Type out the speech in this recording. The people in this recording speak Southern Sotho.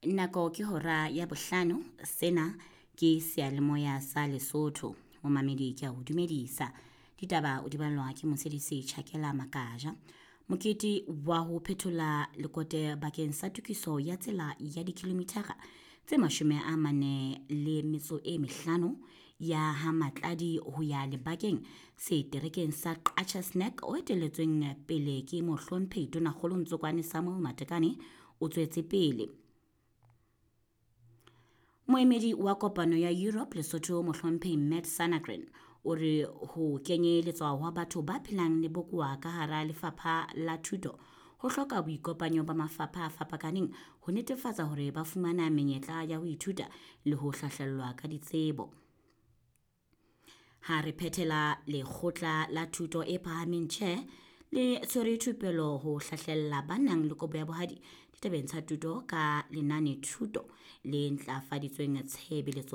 Nako ke hora ya bohlano. Sena ke seyalemoya sa Lesotho. Momamedi ke a o dumedisa. Ditaba o di ballwa ke Motshedisi Tjhakela Makaja. Mokete wa ho phethola lekote bakeng sa tokiso ya tsela ya dikilomithara tse 45 ya ha Matladi ho ya lebakeng seterekeng sa Qacha's Nek o etelletsweng pele ke mohlomphehi Tonakgolo Ntsokwane Samuel Matekane o tswetse pele. Moemedi wa kopano ya Europe Lesotho mohlomphehi Matt Sanagren o re ho kenyeletswa hwa batho ba phelang le bokowa ka hara lefapha la thuto ho hloka boikopanyo ba mafapha a fapakaneng ho netefatsa hore ba fumana menyetla ya ho ithuta le ho hlahlellwa ka ditsebo. Ha re phethela lekgotla la thuto e phahameng tjhe le tshwere thupelo ho hlahlella ba nang le kobo ya bohadi ditabeng tsa thuto ka lenane thuto le ntlafaditsweng tshebeletsong.